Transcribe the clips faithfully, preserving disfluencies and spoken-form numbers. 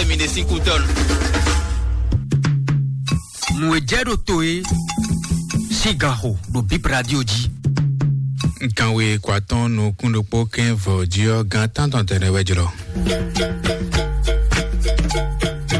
Mi ɖe sín kú tɔn. Nǔ e jɛ ɖo to e sín ganxo ɖo Bip Radio jí. Kanwe kwatɔn nukún ɖokpó kɛn vɔ jí ɔ́, gan tántɔn tɛnɛ wɛ jlɔ.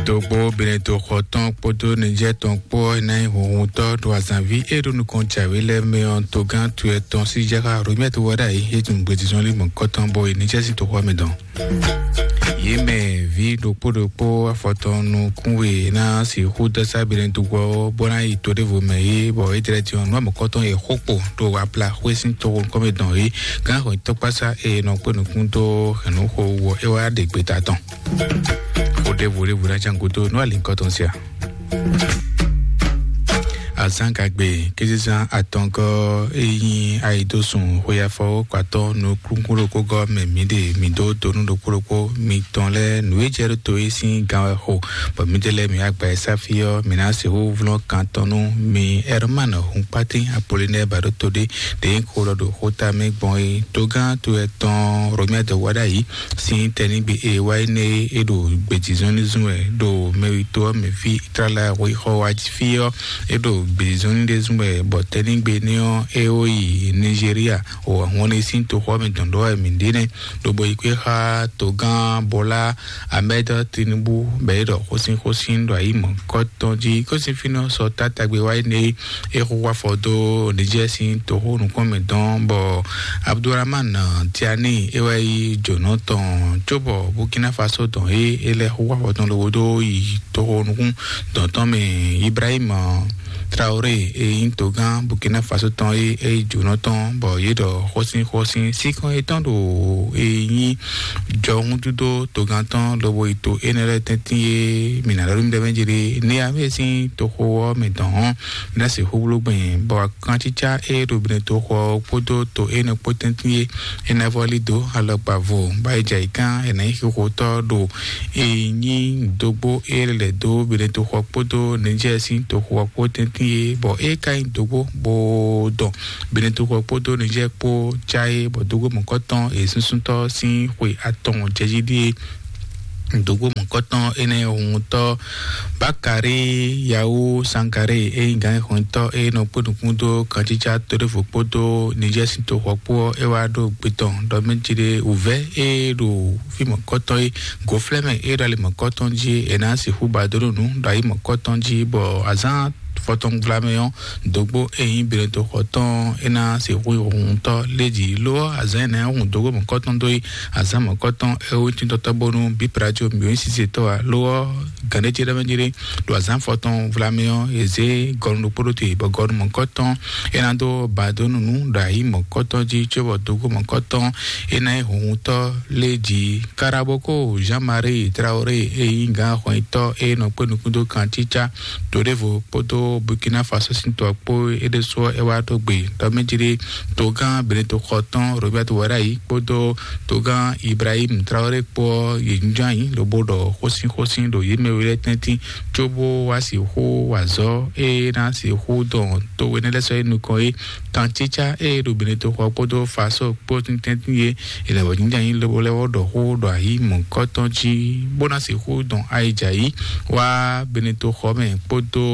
Dogbo Benetoxɔ tɔn kpódó Nijɛ́ tɔn kpó ɔ́ ná nyí hunhuntɔ́ ɖo azǎnví e ɖo nukɔn jǎwe lɛ́ɛ mɛ ɔ́, togán to etɔn sí jáxá Romɛ́ɛ to wɛ ɖ'ayǐ é tunwun gbejizɔ́n lí mɔ̌kɔtɔn bɔ è Nijɛ́ sín toxo ɔ́ mɛ dɔn. Yě mɛ ví ɖokpó ɖokpó afɔtɔn nukún we ná sixú dɔ́ sá Benetoxɔ ɔ́ bó ná yi to ɖěvo mɛ é, bɔ é tlɛ din ɔ́, nǔ mɔ̌kɔtɔn e xó kpo ɖo Aplaxwé sín toxo nukɔn mɛ dɔn é, gǎn xɔ tɔkpásá e nɔ kpé nukún dó hɛ̌nnúxo wɔ é wá ɖe gbeta tɔn. Xó ɖěvo ɖěvo ná can gúdo nú alinkɔ tɔn sia. Azán gagbe késísán atɔngɔ́ e nyí ayidósun xweyafɔ kpatɔ́ nukúnkún ɖokpó gɔ́ mɛ mǐ ɖe mǐ dó tonú ɖokpó ɖokpó mitɔn lɛ́ɛ nǔ e jɛ ɖó to é sín gán wɛ xo, bɔ mǐdɛɛ lɛ́ɛ mǐ agba e sáfí ɔ́, mǐ ná sixú vlɔ́n kan tɔn nú mi Ɛrmán Hunkpátín Apolinɛ́ɛ ba ɖó to ɖé ɖě nyí xó ɖɔ ɖo xóta mɛ gbɔn é. Togán to etɔn Romɛ́ɛ dɔ wá ɖ'ayǐ sín tɛnígbe e wá énɛ́ é ɖo gbějízɔ́n ní zún wɛ ɖo mɛwítɔ́ ɔ́ mɛ fí Itlala xwixɔ wá fí ɔ́, é ɖo gbějízɔ́n ní ɖé zún wɛ bɔ tɛnígbe énɛ́ ɔ́ é wó yi Nizeriya o ahɔnlé sín toxɔ mɛ dɔn ɖɔ wɛ mǐ ɖe nɛ́, lobo yi kpé xá togán Bɔlá Ahmed Tinubu bɔ é ɖɔ xósín xósín ɖo ayǐ mɔ̌kɔtɔn jí. Kósin fínɛ́ sɔ tátagbe wá énɛ́ é xóxó afɔ dó Nijɛ́ɛ sín toxó nukɔn mɛ dɔn bɔ Abdulrahman Tiani é wá yi jǒnɔ tɔn cóbɔ Burkina Faso tɔn é é lɛ́ xóxó afɔ tɔn lobo dó yi toxo nukún dɔn tɔn mɛ. Ibrahim Traoré e nyí togán Burkina Faso tɔn é é yi jǒnɔ tɔn bɔ yě ɖɔ xósín xósín síkɔn yětɔn ɖo e nyí jɔhúndúdó togán tɔn lobo yi to énɛ́ lɛ́ɛ tɛ́ntin e mǐ ná ɖɔ nú mi ɖɔ mɛ jí ɖe ní amɛ sín toxo ɔ́ mɛ dɔn hɔn mi ná sixú bló gbɛn bɔ kancícá e ɖo Benetoxɔ kpódó to énɛ́ kpó tɛ́ntin e é ná vɔ́ lí dó alɔkpa vo bá yi jɛ ayǐ kán è nǎ nyí xixotɔ́ ɖo e nyí dógbó e lɛ́ dó Benetoxɔ kpódó Nijɛ́ɛ sín toxo ɔ́ kpó tɛ́ntin e bɔ é ka nyí dógbó bó dɔn Benetoxɔ kpódó Nijɛ́ɛ kpó cá é bɔ dógbó mɔ̌kɔtɔn e súnsúntɔ́ sín xwe atɔn jɛ jí ɖíe. Dǒgbó mɔ̌kɔtɔn énɛ́ huntɔ́ Bakari Yawu Sankare e nyí gǎnxɔntɔ́ e nɔ kpé nukún dó kancícá tóɖévo kpódó Nijɛ́ɛ sín toxɔ kpó ɔ́, é wá ɖo gbe tɔn ɖɔ mɛ jí ɖe wǔvɛ́ e ɖo fí mɔ̌kɔtɔn e gǒflɛ́mɛ e ɖo ali mɔ̌kɔtɔn jí é ná sixú ba dó nú nǔ ɖo ayi mɔ̌kɔtɔn jí bɔ azǎn fɔtɔn gblamɛ ɔ́ dǒgbó e nyí Benetoxɔ tɔn é ná sixú huntɔ́ lé jí ló ɔ́ azǎn énɛ́ hun dǒgbó mɔ̌kɔtɔn dó yi azǎn mɔ̌kɔtɔn é wú tíntɔ́tɔ́ bónú bíbrajo mǐ wú sisetɔ́ ǎ ló ɔ́ gǎnɖé ce ɖɔ mɛ jí ɖé ɖo azǎn fɔtɔn vlamɛ ɔ́ è zě gɔnu ɖokpó ɖó te bɔ gɔnu mɔ̌kɔtɔn é ná dó ba dó nú nǔ ɖo ayǐ mɔ̌kɔtɔn jí cóbɔ dǒgbó mɔ̌kɔtɔn é ná nyí huntɔ́ lé jí. Karaboko Jean-Marie Traoré e nyí gǎn xɔnyitɔ́ e nɔ kpé nukún dó kan cícá to ɖěvo kpódó Burkina Faso sín to ɔ́ kpó é ɖésú ɔ́ é wá dó gbe ɖɔ mɛ jí ɖé togán Benetoxɔ tɔn Robert Warayi kpódó togán Ibrahim Traoré kpó ɔ́ yě jínjɔ́n ayǐ lobo ɖɔ xósínxósín ɖo yě mɛ we lɛ́ɛ tɛ́ntin cóbó wá sixú wa azɔ̌ e ná sixú dɔn to énɛ́ lɛ́ɛ sɔ́ yi nukɔn é. Kancícá e ɖo Benetoxɔ kpódó Faso kpó tɛ́ntin e è lɛ̌ wɔ jínjɔ́n ayǐ lobo lɛ́ wɔ ɖɔ xó ɖo ayǐ mɔ̌kɔtɔn jí bó ná sixú dɔn ayǐjǎyí wá Benetoxɔ mɛ kpódó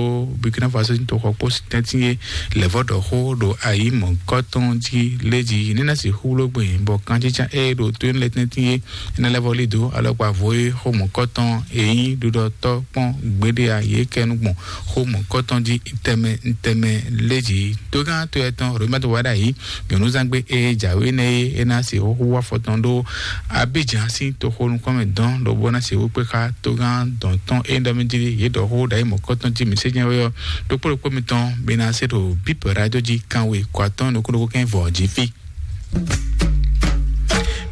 Burkina Faso sín toxɔ kpó tɛ́ntin e lɛ̌ vɔ ɖɔ xó ɖo ayǐ mɔ̌kɔtɔn jí lé jí ní ná sixú bló gbìn bɔ kancícá e ɖo to énɛ́ lɛ́ɛ tɛ́ntin e é ná lɛ́ vɔ lí dó alɔkpa vo e xó mɔ̌kɔtɔn e nyí ɖuɖɔtɔ́ kpɔ́n gbéɖé a yě kɛ nú gbɔn xó mɔ̌kɔtɔn jí tɛmɛ tɛmɛ lé jí. Togán to etɔn Romɛ́to wá ɖ'ayǐ nyɔ̌núzangbe e jǎwe nɛ́ é é ná se xóxó wá fɔtɔn ɖó Abidjan sín toxo nukɔn mɛ dɔn lobo ná se wú kpé xá togán dɔn tɔn e ɖɔ mɛ jí yě ɖɔ xó ɖ'ayǐ mɔ̌kɔtɔn jí mǐ sé jɛ́n wɛ ɔ́ ɖokpó ɖokpó mitɔn mi ná se ɖo bíp radio jí kanwe kɔ atɔn nukún ɖokpó kɛn vɔ jí fí.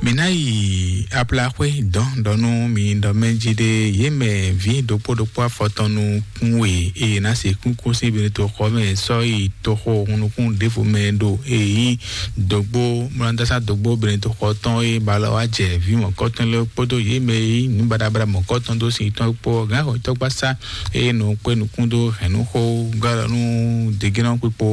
Mi ná yi Aplaxwé dɔn ɖɔ nú mi ɖɔ mɛ jí ɖe yě mɛ ví ɖokpó ɖokpó afɔtɔn nukún we eye ná se kúnkún sín Benetoxɔ mɛ sɔ́ yi toxo hunnukún ɖěvo mɛ ɖo e nyí dogbo mlɔdasa dogbo Benetoxɔ tɔn e ba lɔ wá jɛ ví mɔ̌kɔtɔn lɛ́ɛ kpódó yě mɛ e nyí nǔ baɖabaɖa mɔ̌kɔtɔn dó sin tɔn kpó gǎnxɔtɔ́gbasá eye nɔ kpé nukún dó hɛ̌nnúxó gɔ́ ɖɔ nú degénɔ kpikpo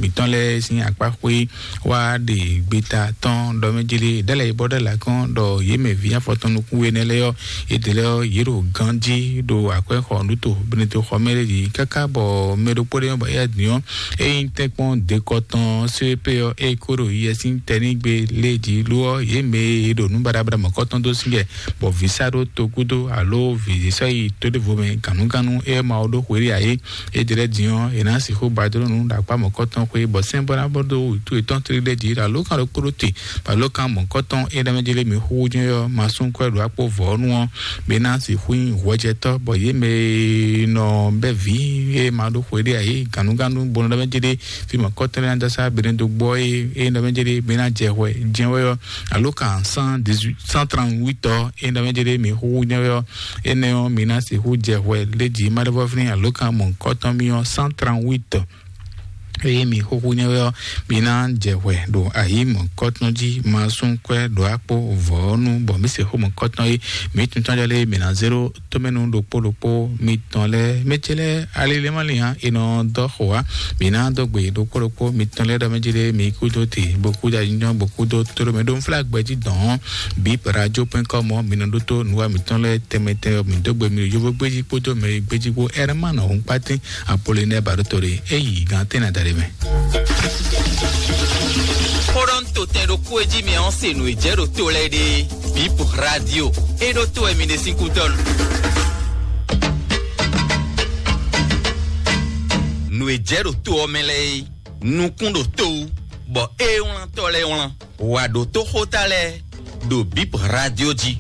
mǐtɔn lɛ́ɛ sín akpá xwé wá ɖe gbeta tɔn ɖɔ mɛ jí ɖe ɖɛ́ lɛ́ɛ yi bɔ ɖɛ́ la kɔn ɖɔ yě mɛ ví afɔtɔn nukún we nɛ́ lɛ́ɛ ɔ́, yě ɖě lɛ́ɛ ɔ́, yě ɖo ganjí ɖo akwɛ́ xɔ nǔ to Benito xɔ mɛ ɖé jí káká bɔ mɛ ɖokpó ɖé nyɔ́ bɔ éyɛ́ din ɔ́, é nyí tɛ́nkpɔ́n dekɔtɔn C P ɔ́, é kó ɖo yɛ sín tɛnígbe lé jí ló ɔ́, yě mɛ e ɖo nǔ baɖabaɖa mɔ̌kɔtɔn dó sín jɛ, bɔ vǐ sá ɖó togúdó alo vǐ sɔ́ yi tóɖévo mɛ gǎnúgánú é ma ɔ ɖó xwéɖé ǎ é. É ɖě lɛ́ɛ din ɔ́, è nǎ sixú ba dó nú ɖo akpá mɔ̌kɔtɔn xwé, bɔ sɛ́n bɔ ná bɔ dó wǔtu yětɔn tlí ɖé jí ɖo alǒkan ɖokpó ɖó te, bɔ alǒkan mɔ̌kɔtɔn é ɖɔ mɛ jélé mi xú jɛ́n ɔ́, ma sún kwɛ́ ɖo akpó vɔ̌ nu ɔ́, mi ná sixú nyí hwɛjɛtɔ́, bɔ yě mɛ e nɔ bɛ́ vǐ e ma ɖó xwéɖé ǎ é gǎnúgánú bo nɔ ɖɔ mɛ jélé fí mɔ̌kɔtɔn lɛ́ɛ ná dó asá beɖédógbó ɔ́ é é ɖɔ mɛ jélé mi ná jɛ hwɛ jɛ́n wɛ ɔ́, alǒkan cent dix-huit, cent trente-huit ɔ́ é ɖɔ mɛ jélé mi xú jɛ́n wɛ ɔ́, énɛ́ ɔ́, mi ná sixú jɛ hwɛ lé jí ma ɖé vɔ́ fínɛ́ alǒkan mɔ̌kɔtɔn mi ɔ́ cent trente-huit. Eye mi xúxú nyɛ wɛ ɔ́, mi ná jɛ hwɛ ɖo ayǐ mɔ̌kɔtɔn jí, ma sún kwɛ́ ɖo akpó vɔ̌nu, bɔ mi se xó mɔ̌kɔtɔn é, mi tuntun jɔ lé mi ná zéro tómɛnu ɖokpó ɖokpó mi tɔn lɛ́ɛ, mɛ ce lɛ́ɛ ali lɛ́ɛ ma lin ǎ, è nɔ dɔ xo wá, mi ná dɔ gbe ɖokpó ɖokpó mi tɔn lɛ́ɛ ɖɔ mɛ jí lé mi kúdó te, bó kúdó anyɔ, bó kúdó tóɖó mɛ ɖó nflá gbɛjí dɔn, bip radio point com ɔ́, mi nɔ ɖótó nǔwa mǐtɔn lɛ́ɛ tɛnmɛ tɛnmɛ, mi dó gbe mi ɖo yovó gbéjí kpódó mɛ gbéjí kpó. Ɛrɛmánɔ Hunkpatín Apolinɛ Baɖótole, é yi gán tɛ́nɛ adaɖé mɛ. Xóɖɔ́ntotɛn ɖokpó e jí mi ɔ́ se nǔ e jɛ ɖo to lɛ́ɛ ɖe. Bip radio, é ɖó to wɛ mi ɖe sín kútɔ́ nu. Nǔ e jɛ ɖo to ɔ́ mɛ lɛ́ɛ é, nukún ɖo to wú, bɔ é wlántɔ́ lɛ́ɛ wlán. Wǎ ɖótó xóta lɛ́ɛ ɖo bip radio jí.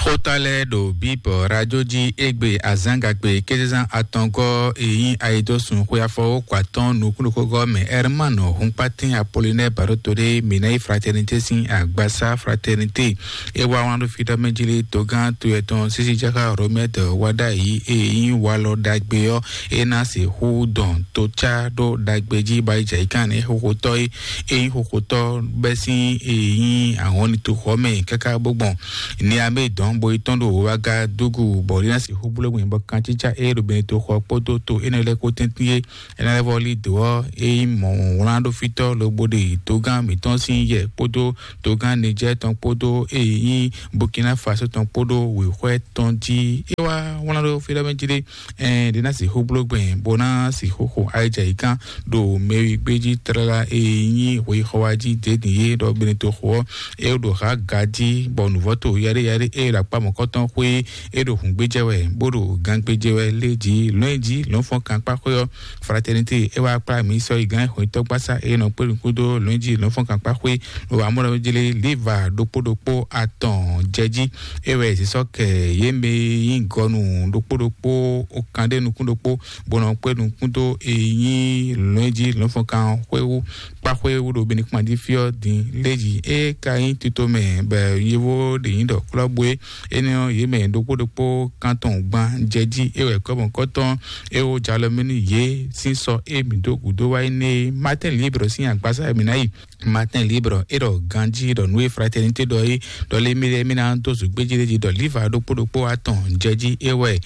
Xóta lɛ́ɛ ɖo bip radio jí égbé azǎngagbe kézezán atɔngɔ́ e nyí ayidósun xwe afɔwókɔ atɔ́ɔ́n nukúnɖokógɔ́ mɛ Hermano Hunkpatín Apollinaire Baɖótolé, mǐ ná yi fraternité sín agbasá fraternité. É wá wlán ɖó fí ɖɔ mɛ jí lé togán to yɛtɔn sísí jáká Romɛ́d wá ɖ'ayǐ e nyí walɔ ɖagbe ɔ́, é ná sixú dɔn tocá ɖó ɖagbe jí bɔ ayijɛ yi kán ní xóxótɔ́ é é nyí xóxótɔ́ bɛ́ sín e nyí ahɔnnitu xɔ mɛ káká bó gbɔn Niamé dɔn bo yi tɔn ɖo Ouagadougou, bɔ é ná sixú bló gbìn bɔ kancícá é ɖo Beneto xɔ kpódó to énɛ́ lɛ́ɛ kó tɛ́ntin é. É ná lɛ́ vɔ lí dǒ ɔ́, é nyí mɔ̌ wlán ɖó fítɔ́ lobo ɖe togán mǐtɔn sín yɛ kpódó togán Nijɛ́ɛ tɔn kpódó e nyí Burkina Faso tɔn kpódó wěxwɛ́ tɔn jí. É wá wlán ɖó fí ɖɔ mɛ jí ɖé, ɛn ɖě ná sixú bló gbɛn bó ná sixú xo ayijɛ yi gán ɖo mɛwi gbé jí tlala e nyí hweyixɔ wá jí dě din yé ɖɔ Beneto xo ɔ́, é ɖo hǎ ga jí bɔ nǔvɔ́ to yaɖé yaɖé é ɖo akpá mɔ̌kɔtɔn xwé é ɖo hǔngbéjɛ wɛ bó ɖo gangbéjɛ wɛ lé jí lɔ̌nyijǐ lɔ̌nfɔ́nkankpáxwé ɔ́. Fraternité é wá kplá mǐ sɔ́ yi gán xwetɔ́gbasá é nɔ kpé nukún dó lɔ̌nyijǐ lɔ̌nfɔ́nkankpáxwé ɖo amɔ́ɖɔjlé Liva ɖokpó ɖokpó atɔn jɛ jí. É wɛ zǐsɔ́ kɛ yě mɛ e nyí gɔnu ɖokpó ɖokpó kan ɖé nukún ɖokpó bó nɔ kpé nukún dó e nyí lɔ̌nyijǐ lɔ̌nfɔ́nkan xwé wú kpáxwé wú ɖo Benikuma jí fí ɔ́ din lé jí. É ka nyí tito mɛ bɔ yovó ɖě nyí ɖɔ klɔ́bú é. Énɛ́ ɔ́, yě mɛ ɖokpó ɖokpó kántɔn gban jɛ jí é wɛ kɔ́mɔkɔ́tɔn é wó jalɔ mɛ nú yě sín sɔ é mǐ dó gǔdó wá énɛ́ é. Matin Libre sín agbasa mǐ ná yi. Matin Libre é ɖɔ ganjí ɖɔ nǔ e Fraternité ɖɔ é ɖɔ lé mí lɛ́ɛ mí ná dó zǔgbéjí lé jí ɖɔ líva ɖokpó ɖokpó atɔn jɛ jí é wɛ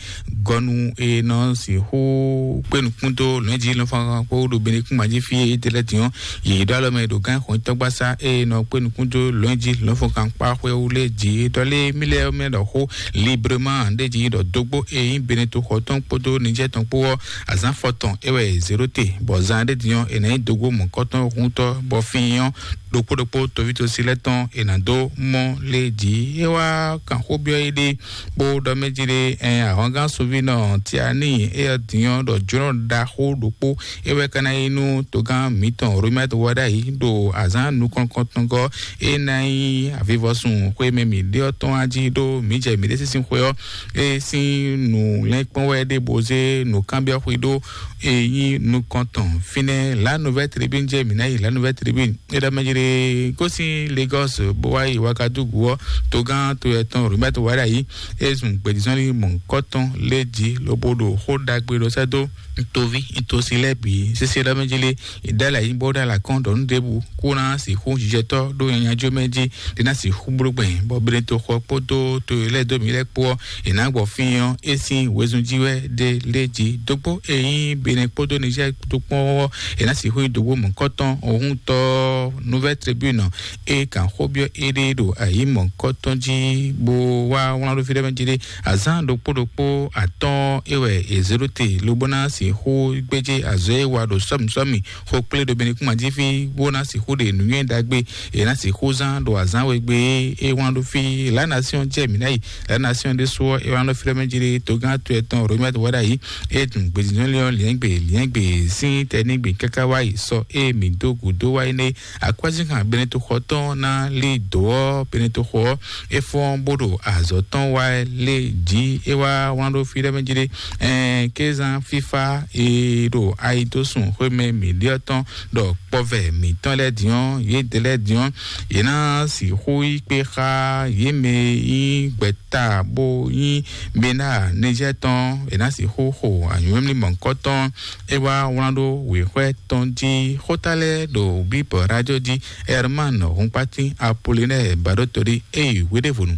gɔnu e nɔ sixú kpé nukún dó lɔ̌njǐ lɔnfɔnkan kpó ɖo Benikúngban jí fí é tɛlɛ din ɔ́, yě ɖó alɔ mɛ ɖo gán xɔn tɔgbasa e nɔ kpé nukún dó lɔ̌njǐ lɔnfɔnkan kpá xwé wú lé jí ɖɔ lé mí lɛ́ɛ mɛ ɖɔ xó librement ɖé jí ɖɔ dógbó e nyí Beneto xɔ tɔn kpódó Nijɛ́ tɔn kpó ɔ́, azǎn fɔtɔn é wɛ zéro te, bɔ zan ɖé din ɔ́, è nǎ nyí dógbó mɔ̌kɔtɔn huntɔ́ bɔ fín ɔ́ ɖokpó ɖokpó tovítɔ́sí lɛ́ɛ tɔn è nǎ dó mɔ lé jí. É wá kan xó byɔ́ yé ɖé bó ɖɔ mɛ jí ɖé, ɛn ahɔngán sunvínɔ Tiani éyɛ́ din ɔ́ ɖɔ jǒnɔ ɖaxó ɖokpó é wɛ ka ná nyí nú togán mǐtɔn Romɛ́t wá ɖ'ayǐ ɖo azǎn nukɔn-, kɔntɔngɔ́ é ná nyí avivɔsun xwé mɛ mǐ ɖe ɔ́ tɔn wá jí ɖó mǐ jɛ mǐɖée sín xwé ɔ́ é sín nǔ lɛ́nkpɔ́n wɛ ɖé bó zé nǔkanbyɔ́ xwé ɖó e nyí nukɔntɔn fínɛ́ La Nouvelle Tribune jɛ mǐ ná yi La Nouvelle Tribune. É ɖɔ mɛ jlé gosín Lagos bó wá yi Ouagadougou ɔ́, togán to yɛ tɔn Robert Wadayi é zun gbědízɔ́nlí mɔ̌hunkɔtɔn lé jí lobo ɖo xó ɖagbe ɖɔ sɛ́ dó ntoví ntosi lɛ́ɛ bǐ. Sésé ɖɔ mɛ jlé ìdálɛ yí bó ɖó alakɔ́n ɖɔ nú ɖěbǔ kó ná sixú jijɛtɔ́ ɖó nyanya jó mɛ jí ɖé ná sixú bló gbɛn bɔ Beneto xɔ kpódó to lɛ́ɛ dó mǐ lɛ́ɛ kpó ɔ́, è nǎ gbɔ fín ɔ́ é sín wezun jí wɛ ɖe lé jí dógbó e nyí Benin kpódó Niger tó kpɔ́n ɔ́, è nǎ sixú nyí dǒgbó mɔ̌kɔtɔn òhúntɔ́ Nouvelle Tribune e kan xó byɔ́ éɖée ɖo ayǐ mɔ̌kɔtɔn jí bó wá wlán ɖó fí ɖé mɛ jí ɖé. Azán ɖokpó ɖokpó atɔ́ɔ́n é wɛ è zě ɖó te lobó ná sixú gbéjé azɔ̌ e wa ɖo sɔ́mǐsɔ́mǐ xó kplé ɖo Benukúnma jí fí bó ná sixú ɖe nǔnywɛ́ ɖagbe è ná sixú zán ɖo azǎn we gbe é wlán ɖó fí. La Nation jɛ mǐ ná yi. La Nation ɖésú ɔ́ é wlán ɖó fí ɖé mɛ jí ɖé togán to ɛtɔn Romuald Wadagni é dun gbedinɔ́lé ɔ́ liɛ́ngbe liɛ́ngbe sín tɛnígbe káká wá yi sɔ é mǐ dó gǔdó wá énɛ́. Akwɛ́zínkan Benetoxɔ tɔn ná lí dǒ ɔ́, Benetoxɔ ɔ́ é fɔ́n bó ɖo azɔ̌ tɔn wá lé jí é wá wlán ɖó fí ɖé mɛ jí ɖé. Ɛn kézán fífá e ɖo ayidósùn xwémɛ mǐɖíɔ́ tɔn ɖɔ kpɔvɛ mǐtɔn lɛ́ɛ din ɔ́, yědɛɛ lɛ́ɛ din ɔ́, yě ná sixú yí kpé xá yě mɛ e nyí gbɛta bó nyí Bena Nizɛ́ɛ tɔn, è nǎ sixú xo anyǔmlímlí mɔ̌hunkɔtɔn. É wá wlán ɖó wěxwɛ́ tɔn jí xóta lɛ́ɛ ɖo Bíbɔ rájɔ jí. Herman Hunkpatín Apolinɛ́ɛ Baɖótolí é yi hweɖěvɔnu.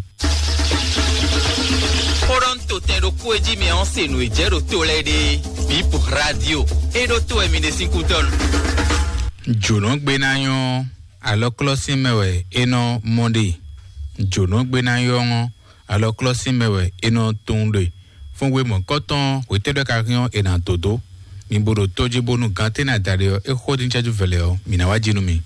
Xó ɖɔ ń to tɛn ɖokpó e jí mɛ ɔ́ se nǔ e jɛ ɖo to lɛ́ɛ ɖe. Bíbɔ rádio é ɖó to wɛ mi ɖe sín kútɔ́nu. Jǒnɔgbénáyɔ́ alɔklɔ́sín mɛ wɛ é nɔ mɔ ɖe. Jǒnɔgbénáyɔ́ ɔ́ alɔklɔ́sín mɛ wɛ è nɔ tunwun ɖe. Fún we mɔ̌kɔtɔn hwetɛ́ɖɔ ka hɛn ɔ́ è nǎ dó dó. Mi bo ɖo tó jí bónú gantɛ́ ná da ɖe ɔ́, é xó dín cɛ́jú vɛlɛ ɔ́, mǐ ná wá jí nú mi.